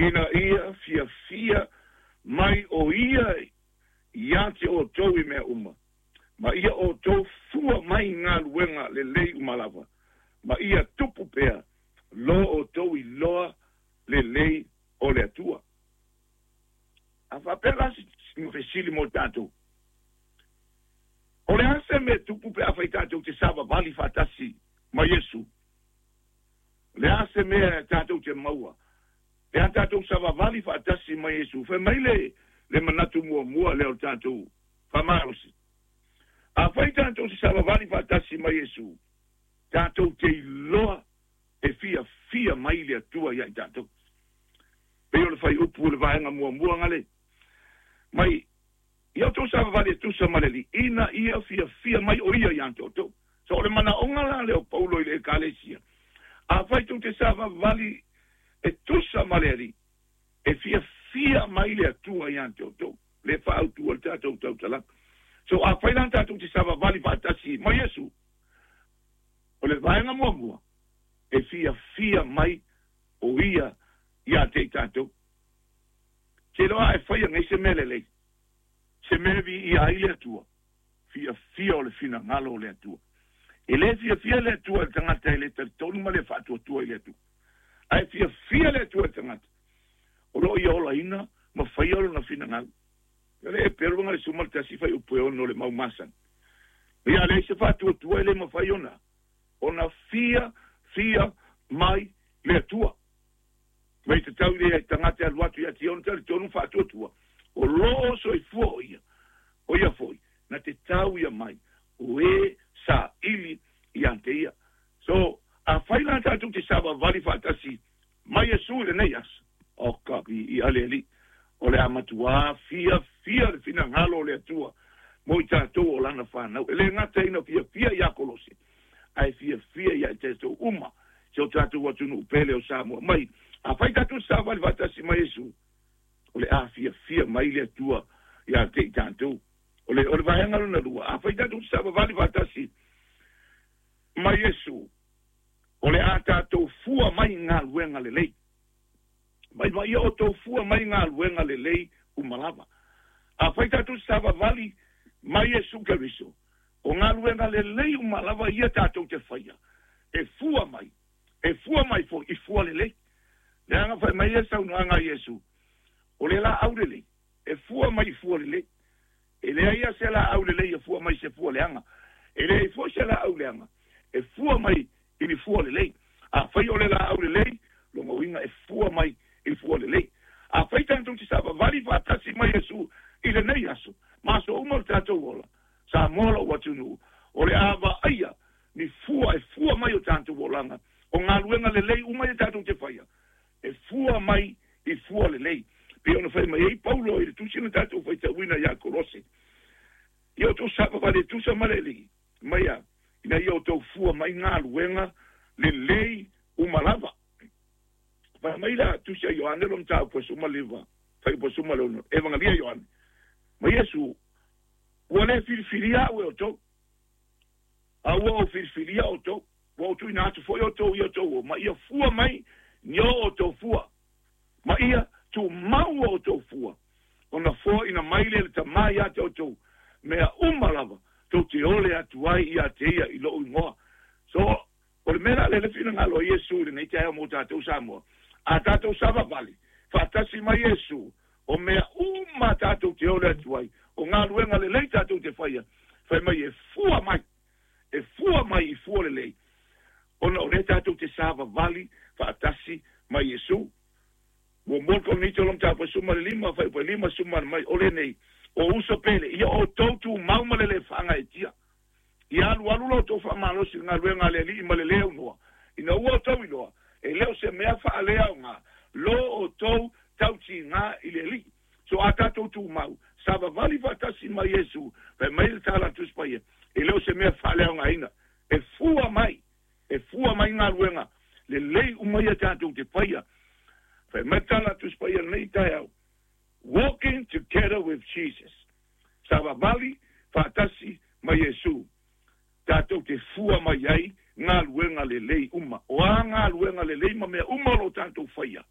Ina ia fiafia mai o ia ia te outou i mea uma, ma ia outou fua mai i galuega lelei uma lava, ma ia tupu pea lo outou iloa lelei o le Atua. A faapea la se fesili mo tatou, o le a se mea e tupu pe afai tatou te savavali faatasi ma Iesu? O le a se mea tatou te maua pe a tatou savavali faatasi ma Iesu? Fai mai le manatu muamua lea o le tatou faamalosi. Afai tatou te savavali faatasi ma Iesu, tatou te iloa e fiafia mai le Atua ia i tatou. Pei o le fuaiupu o le vaega muamua gale. Mai, ia outou savavali e tusa ma le Alii, ina ia fiafia mai o ia ia te outou. So o le manaoga la lea o Paulo i le Ekalesia, afai tou te savavali e tusa ma le Alii, e fiafia mai le Atua ia te outou, le faautua le tatou tautalaga. So afai la tatou te savavali faatasi ma Iesu, o le vaega muamua, e fiafia mai o ia ia te i tatou. Te iloa a e faia nei se mea lelei, se mea viia ai le Atua, fiafia o le finagalo o le Atua. E le fiafia le Atua i le tagata e le talitonu ma le faatuatua i le Atua. Ae fiafia le Atua i le tagata o lo o ia olaina ma faia lona finagalo. O le Eperu le 11 fuaiupu e 6 o le mau masani. Ia leai se faatuatua e le mafai ona fiafia mai le Atua. Mai tatau i le tagata e alu atu ia te ia ona talitonu faatuatua. O lo o soifua o ia. O ia foi, na te tau ia mai. O e saili ia te ia. So, afai la tatou te savavali faatasi ma Iesu i lenei aso. O ka i ale Alii. O le a matuā fiafia le finagalo o le Atua mo i tatou o lana fanau. E le gata ina fiafia ia Kolose, ae fiafia ia i tatou uma, si o tatou atunuu pele o Samoa. Mai, afai tatou te savavali faatasi ma Iesu, o le a fiafia mai le Atua ia te i tatou. O le vaega lona lua, afai tatou te savavali faatasi ma Iesu, o le a tatou fua mai galuega lelei. Mai ma ia outou fua mai galuega lelei uma lava. Afai tatou te savavali ma Iesu Keriso, o galuega lelei uma lava ia tatou te faia, e fua mai foi i fua lelei. Leaga fai mai e saunoaga a Iesu, o le laau lelei, e fua mai i fua lelei. E leai ia se laau lelei e fua mai se fua leaga. E leai foi se laau leaga, e fua mai i ni fua lelei. Afai o le laau lelei, lona uiga e fua mai i fua lelei. Afai tatou te savavali faatasi ma Iesu i lenei aso, ma aso uma o le tatou ola, Samoa lou atunuu, o le a vaaia ni fua e fua mai o tatou olaga, o galuega lelei uma ia tatou te faia, e fua mai i fua lelei. Pei ona fai mai ai Paulo i le tusi na tatou faitauina ia Kolose, ia outou savavali e tusa ma le Alii, mai a, ina ia outou fua mai galuega lelei uma lava. Fai mai la tusi a Ioane lo mataupu e 15, fuaiupu e 16, Evangelia Ioane. Ma Iesu, ua le filifilia au e outou, a ua ou filifilia outou, ua ou tuuina atu foi outou ia outou o, ma ia fua mai ni o outou fua, ma ia tumau o outou fua, ona foaina mai le tamā ia te outou, mea uma lava, tou te ole atu ai ia te ia i lou igoa. So, o le mea la le finagalo a Iesu i lenei taeao mo tatou Samoa, a tatou savavali faatasi ma Iesu, o mea uma tatou te ole atu ai, o galuega lelei tatou te faia, fai mai e fua mai i fua lelei, ona o lea tatou te savavali faatasi ma Iesu. Ua mua le Korinito lo mataupu e 15, fuaiupu e 5 mai, o lenei, o uso pele, ia outou tumau ma le le faagaeetia. Ia alualu lo outou faamalosi i le galuega a le Alii ma le le aunoa, ina ua outou iloa, e le o se mea faaleaoga, lo outou tautiga i le Alii. So a tatou tumau, savavali faatasi ma Iesu, fai mai le tala a Tusi Paia, e le o se mea faaleaogaina, e fua mai galuega lelei uma ia tatou te faia. Fai mai le tala a Tusi Paia lenei taeao, walking together with Jesus, savavali faatasi ma Iesu, tatou te fua mai ai galuega lelei uma. O a galuega lelei ma mea uma o lo tatou faia,